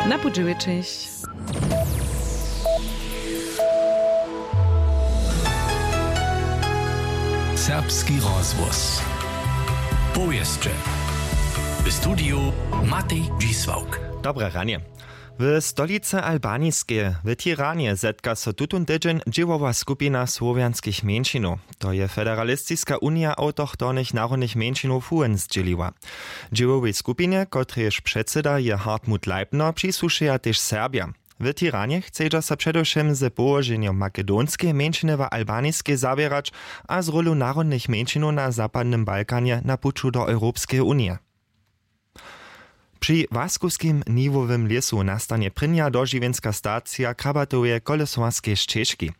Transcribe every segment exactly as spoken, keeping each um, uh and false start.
Na pół dźewjećich. Serbski rozhłos. Powěsće. W studiju Matej Dźisławk. Dobre ranje. W stolicy Albaniskej, w Tiranje, zetka so tutón tydźeń dźěłowa skupina słowjanskich mjeńšinow. To je Federalistiska unija awtochtonych narodnych mjeńšinow FUEN zdźěliła. Dźěłowej skupinje, kotrejež předsyda je Hartmut Leipner, přisłušeja tež Serbja. W Tiranje chcedźa so předewšěm z połoženjom makedonskeje mjeńšiny w Albaniskej zawěrać a z rólu narodnych mjeńšinow na zapadnym Balkanje na puću do Europskeje unije. Při Łaskowskim niwowym lěsu nastanje prěnja dožiwjenska stacija krabatoweje kolesowarskej šćežki.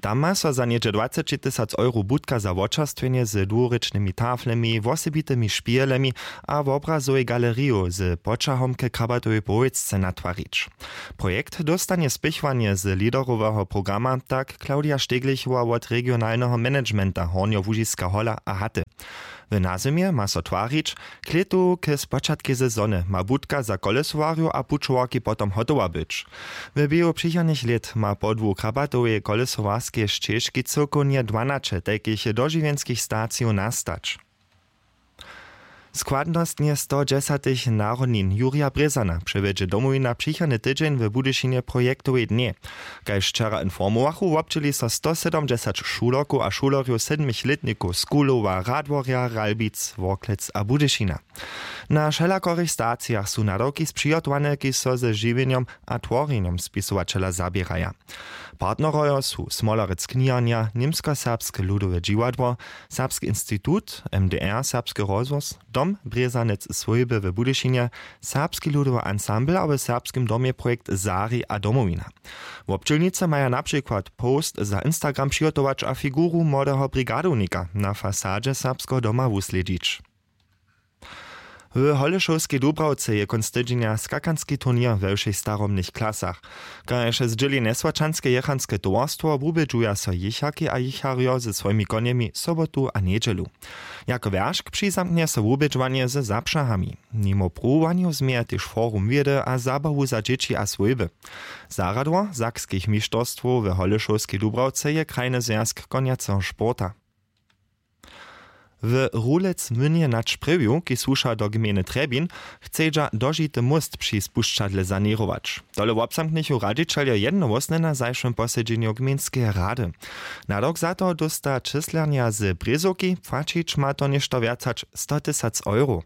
Tam ma so za něhdźe dwaceći tysac euro budka za wočerstwjenje z dłurěčnymi taflemi, wosebitymi špihelemi a wobrazowej galeriju z poćahom k krabatowej powěsće natwarić. Projekt dóstanje spěchowanje z leaderoweho programa, tak Claudia Steglichowa wot regionalneho managementa Hornjołužiska Hola a Haty. W nazymje ma so twarić, k lětu k spočatkej sezony ma budka za kolesowarjow a pućowarki potom hotowa być. W běhu přichodnych lět ma podłu krabatoweje kolesowarskeje šćežki cyłkownje dwanaće tajkich dožiwjenskich stacijow nastać. Składnostnje stodźesatych narodnin Jurja Brězana přewjedźe Domowina přichodny tydźeń w Budyšinje projektowej dnjej. Kaž wčera informowachu, wobdźěli so stosydomdźesat šulerkow a šulerjow sedmich lětnikow z Kulowa, Radworja, Ralbic, Worklec a Budyšina. Na wšelakorych stacijach su nadawki spřihotowane, kiž so ze žiwjenjom a tworjenjom spisowaćela zaběraja. Partnerojo su Smolerec kniharnja, Němskoserbske ludowe dźiwadło, Serbski institut, M D R, Serbski rozhłos, Dom Brězanec swójby w Budyšinje, Serbski ludowy ansambl a w Serbskim domje projekt Zari a Domowina. Wobdźělnicy maja na přikład post za Instagram přihotować a figuru młodeho brigadownika na fasadźe Serbskeho doma wuslědźić. W Holešowskej Dubrawce je kónc tydźenja skakanski turněr we wšěch starobnych klasach. Kaž zdźěli Njeswaćanske jěchanske towarstwo, wubědźuja so jěcharki a jěcharjo ze swojimi konjemi sobotu a njedźelu. Jako wjeršk přizamknje so wubědźowanje ze zapřahami. Nimo pruwowanjow změja tež forum wědy a zabawu za dźěći a swójby. Zarjadło sakskich mišterstwow w Holešowskej Dubrawce je Krajny zwjazk konjaceho sporta. W Rulec-Mynje nad Sprjewju, kiž słuša do gmejny Trjebin, chcedźa dožity móst při spušćadle saněrować. Tole wobzamknychu radźićeljo jednohłósnje na zašłym posedźenju gmejnskeje rady. Nadawk za to dósta čyslernja z Brězowki, płaćić ma to něšto wjac hač sto tysac euro.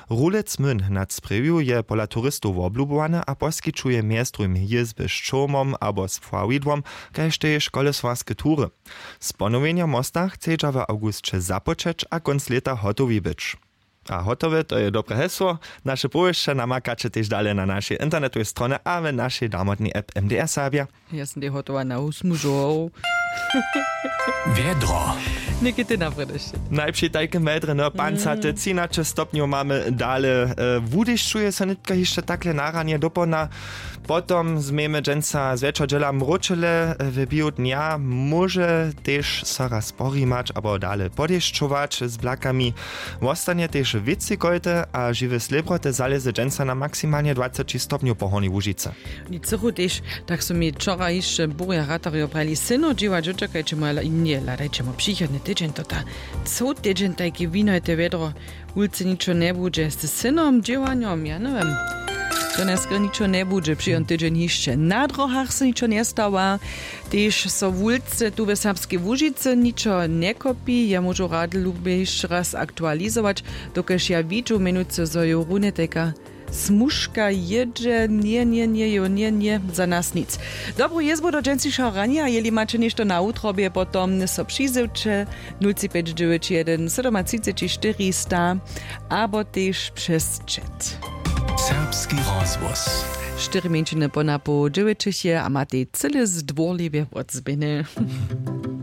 Rulec-Myn nad Sprjewju je pola turistow woblubowany a poskićuje mjez druhim jězby z čołmom abo z pławidłom, kaž tež kolesowarske tury. Z ponowjenjom mosta chcedźa w awgusće započeć a kónc lěta hotowi być. A hotowe, to je dobre hesło. Naše powěsće namakaće tež dale na našej internetowej stronje a w našej damotnej app M D R Serbja. Ja sym tej hotowa na husmužow. Wjedro. Někdy ty naprědeš. Najpři tajke medre, no, pancate, mm, třinaće stopnjow mamy dale. E, wudešćuje so nětka hišće takle na ranje dopołdna. Potom změjemy dźensa zwjetšo dźěla mróčele, w běhu dnja móže tež so raz porimać abo dale podešćować z blakami. Wostanje tež wěcej kojty a žiwe slěbroty zalěze dźensa na maksimalnje dwaceći stopnjow po Hornjej Łužicy. Oni chcychu tež, tak su mi wčora hišće burja ratarjo prali, syno dźěła, dźočakajće mu, ale nje, hladajće mu přichodny tydźeń, to ta, coł tydźeń tajki winojte wjedro. Wulce ničo njebudźe z synom, dźěłanjom, ja njewěm. To njeske ničo njebudźe, přiwon tydźeń hišće. Na dróhach so ničo njestawa, tež so wulce tu w Serbskej Łužicy ničo njekopi. Ja móžu rady lubje hišće raz aktualizować, dokelž ja widźu mjenujcy, zo jo runje tajka smužka jědźe. Nje, nje, nje, jo, nje, nje, za nas nic. Dobru jězbu do dźensnišeho ranja, jeli maće něšto na wutrobje, potom so přizywće. Nul tři pjeć dźewjeć jedyn sydomatřiceći štyristo abo tež přez chat. Serbski rozhłos. Štyri mjeńšiny po napoł dźewjećich je a matej cyle zdwórliwje wotzběhny.